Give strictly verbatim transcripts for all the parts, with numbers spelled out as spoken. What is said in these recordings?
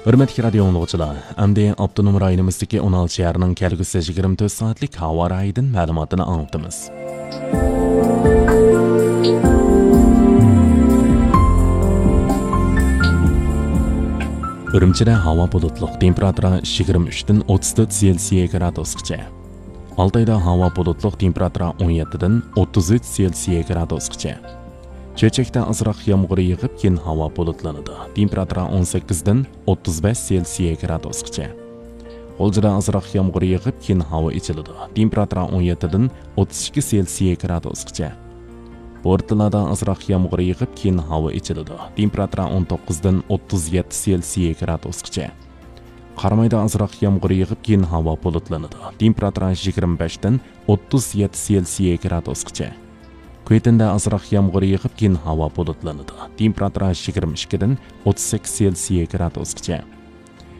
ھۆرمەتلىك رادىيو ئاڭلىغۇچىلار، ئەمدى ئاپتونوم رايونىمىزدىكى ئون ئالتە شەھەرنىڭ كەلگۈسى يىگىرمە تۆت سائەتلىك ھاۋا رايىدىن مەلۇماتىنى ئاڭلىتىمىز. ئۈرۈمچىدە ھاۋا بۇلۇتلۇق، تېمپېراتۇرا يىگىرمە ئۈچتىن ئوتتۇز تۆت سېلسىيە گرادۇسقىچە. ئالتايدا ھاۋا بۇلۇتلۇق، تېمپېراتۇرا ئون يەتتىدىن ئوتتۇز ئۈچ سېلسىيە گرادۇسقىچە. چۆچەكتە ئازراق يامغۇر يېغىپ، كېيىن ھاۋا بۇلۇتلىنىدۇ. تېمپېراتۇرا ئون سەككىزدىن ئوتتۇز بەش سېلسىيە گرادۇسقىچە. غۇلجىدا ئازراق يامغۇر يېغىپ، كېيىن ھاۋا ئېچىلىدۇ. تېمپېراتۇرا ئون يەتتىدىن ئوتتۇز ئىككى سېلسىيە گرادۇسقىچە. بورتالادا ئازراق يامغۇر يېغىپ، كېيىن ھاۋا ئېچىلىدۇ. تېمپېراتۇرا ئون توققۇزدىن ئوتتۇز يەتتە سېلسىيە گرادۇسقىچە. قارامايدا ئازراق يامغۇر يېغىپ، كېيىن ھاۋا بۇلۇتلىنىدۇ. تېمپېراتۇرا يىگىرمە بەشتىن ئوتتۇز يەتتە سېلسىيە گرادۇسقىچە. كۈيتىندە ئازراق يامغۇر يېغىپ، كېيىن ھاۋا بۇلۇتلىنىدۇ. تېمپېراتۇرا يىگىرمە ئىككىدىن ئوتتۇز سەككىز سېلسىيە گرادۇسقىچە.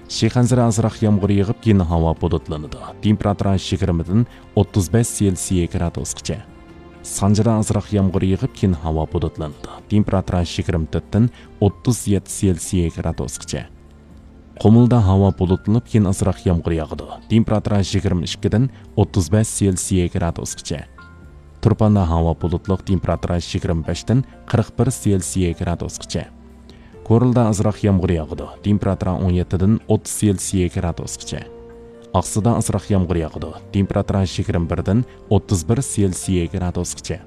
شىخەنزىدە ئازراق يامغۇر يېغىپ، كېيىن ھاۋا بۇلۇتلىنىدۇ. تېمپېراتۇرا يىگىرمىدىن ئوتتۇز بەش سېلسىيە گرادۇسقىچە. سانجىدا ئازراق يامغۇر يېغىپ، كېيىن ھاۋا بۇلۇتلىنىدۇ. تېمپېراتۇرا يىگىرمە تۆتتىن ئوتتۇز يەتتە سېلسىيە گرادۇسقىچە. قۇمۇلدا ھاۋا بۇلۇتلىنىپ، كېيىن ئازراق يامغۇر ياغىدۇ. تېمپېراتۇرا يىگىرمە ئىككىدىن ئوتتۇز بەش سېلسىيە گرادۇسقىچە. تۇرپاندا ھاۋا بۇلۇتلۇق، تېمپېراتۇرا يىگىرمە بەشتىن قىرىق بىر سېلسىيە گرادۇسقىچە. كورلىدا ئازراق يامغۇر ياغىدۇ. تېمپېراتۇرا ئون يەتتىدىن ئوتتۇز سېلسىيە گرادۇسقىچە. ئاقسۇدا ئازراق يامغۇر ياغىدۇ. تېمپېراتۇرا يىگىرمە بىردىن ئوتتۇز بىر سېلسىيە گرادۇسقىچە.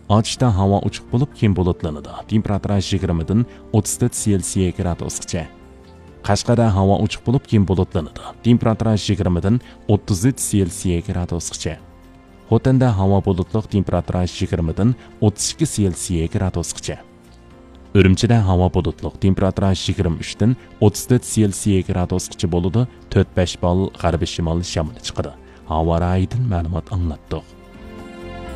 ئاچىشتا ھاۋا ئوچۇق بولۇپ، كېيىن بۇلۇتلىنىدۇ. تېمپېراتۇرا يىگىرمىدىن ئوتتۇز تۆت سېلسىيە گرادۇسقىچە. قەشقەردە ھاۋا ئوچۇق بولۇپ، كېيىن بۇلۇتلىنىدۇ. تېمپېراتۇرا يىگىرمىدىن ئوتتۇز ئۈچ سېلسىيە گرادۇسقىچە. خوتەندە ھاۋا بۇلۇتلۇق، تېمپېراتۇرا يىگىرمىدىن ئوتتۇز ئىككى سېلسىيە گرادۇسقىچە. ئۈرۈمچىدە ھاۋا بۇلۇتلۇق، تېمپېراتۇرا يىگىرمە ئۈچتىن ئوتتۇز تۆت سېلسىيە گرادۇسقىچە بولىدۇ، تۆت بەش بال غەربىي شىمال شامىلى چىقىدۇ. ھاۋا رايىدىن مەلۇمات ئاڭلاتتۇق.